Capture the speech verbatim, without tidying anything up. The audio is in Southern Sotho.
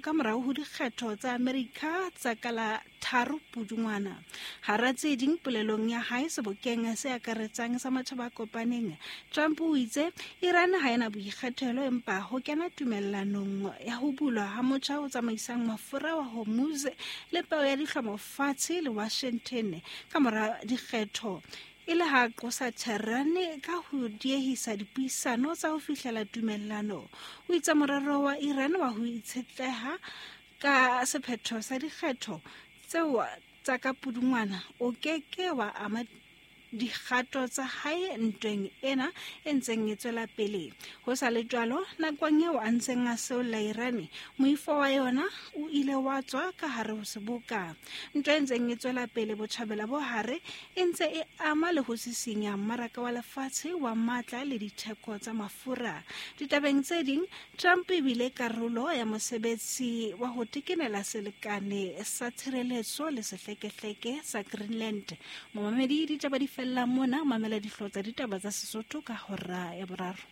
ka morao ho dikgetho tsa Amerika tsa ka la tharo Pudungwana. Hara tse ding polelong ya hae sebokeng se akaretsang sa matjhaba a kopaneng, Trump o itse Iran ha ena boikgethelo empa ho kena tumellanong ya ho bulwa ha motjha o tsamaisang mafura wa Hormuz le peo ya dihlomo fatshe le Washington ka mora dikgetho, e le ha qosa Tehran ka ho diehisa dipuisano tsa ho fihlela tumellano. O itse morero wa Iran wa ho itshetleha ka sephetho sa dikgetho tseo tsa ka Pudungwana o ke ke wa ama dikgato tsa hae ntweng ena e ntseng e tswela pele. Ho sa le jwalo, nakong eo a ntseng a seolla Iran, moifo wa yona o ile wa tswa ka hare ho seboka. Ntwa e ntseng e tswela pele Botjhabela bo Hare e ntse e ama le ho sisinya mmaraka wa lefatshe wa matla le ditheko tsa mafura. Ditabeng tse ding, Trump e bile karolo ya mosebetsi wa ho tekenela selekane sa tshireletso le sehlekehleke sa Greenland. Momamedi, ditaba di fella mona. Mamela dihlooho tsa ditaba tsa Sesotho ka hora ya boraro.